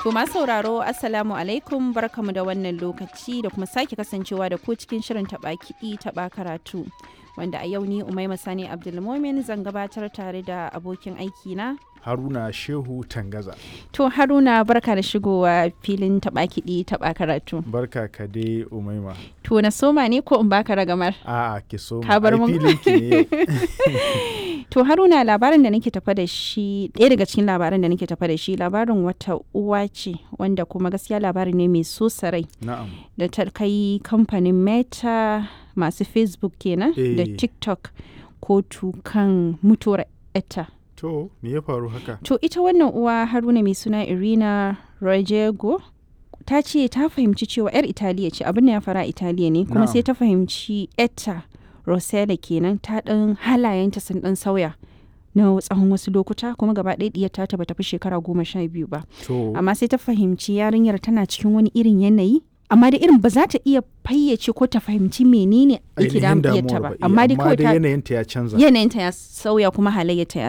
To masu sauraro, Assalamu alaikum, barkamu da wannan lokaci da kuma sake kasancewa da ku cikin shirin taɓa kiɗi taɓa karatu. Wanda a yau ni Umaima Sani Abdulmomin zan gabatar tare da abokin aiki na Haruna Shehu Tangaza. To Haruna, barka da shigowa filin taɓa kiɗi taɓa karatu. Barka ka dai, Umaima. To na soma ne ko in baka ragamar? A'a, ki soma. Ka bar Ai, mun. filin ki ne yau. To Haruna, labarin da nake tafa da shi, ɗaya daga cikin labaran da nake tafa da shi, labarin wata uwa ce wanda kuma gaskiya labari ne mai so rai Na'am. da ta kai kamfanin Meta, masu Facebook kenan, da TikTok kotu kan mutuwar etta. To me ya faru haka? To ita wannan uwa, Haruna, mai suna Irina Rojego, ta ce ta fahimci cewa 'yar Italiya ce, abin da ya fara Italiya ne, kuma sai ta fahimci etta Rosella kenan ta ɗan halayenta sun ɗan sauya na tsawon wasu lokuta, kuma gaba ɗaya ɗiyar ta bata fi shekara 12 ba. To Amma sai ta fahimci yarinyar tana cikin wani irin yanayi, amma da irin ba za ta iya fayyace ko ta fahimci menene yake ainihin damun ɗiyarta damuwar ba. ba. Amma dai kawai Amma dai yanayinta ya canza. yanayinta ya sauya kuma halayyarta ya